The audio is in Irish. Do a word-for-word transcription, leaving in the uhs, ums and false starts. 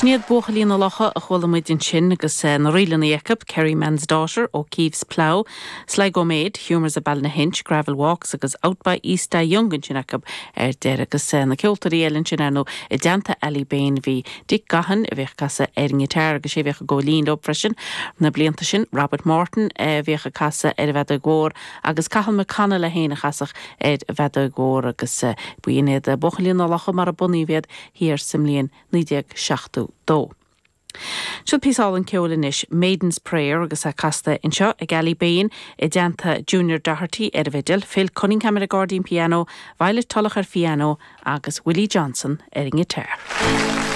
Sin iad Buachaillí na Locha a chuala muid ansin agus eh, na ríleanna acu, Kerryman's Daughter O'Keefe's Plough, Sligo Maid, Humours of Ballynahinch, Gravel Walks agus Out by East Young ansin acu ar deireadh agus eh, na ceoltóirí eile ansin ar ndóigh i dteannta Ali Bane bhí Dick Gaughan a bhíodh ag casadh ar an ngiotár agus sé bhíodh ag gabháil fhoinn leo freisin na blianta sin Robert Morton eh, bhíodh ag casadh ar an bhfeadóg mhór agus Cathal McConnell é féin a chasfadh ar an bhfeadóg mhór agus b'in iad Buachaillí na Locha mar a bunaíodh iad thiar sa mbliain naoi déag seachtó dó. Seo píosa álainn ceoil anois Maiden's Prayer agus é casta anseo ag Ali Bane i dteannta Junior Doherty ar an bhfidil, Phil Cunningham ar an gcairdín pianó, Violet Tulloch ar phianó agus Willie Johnson ar an ngiotár.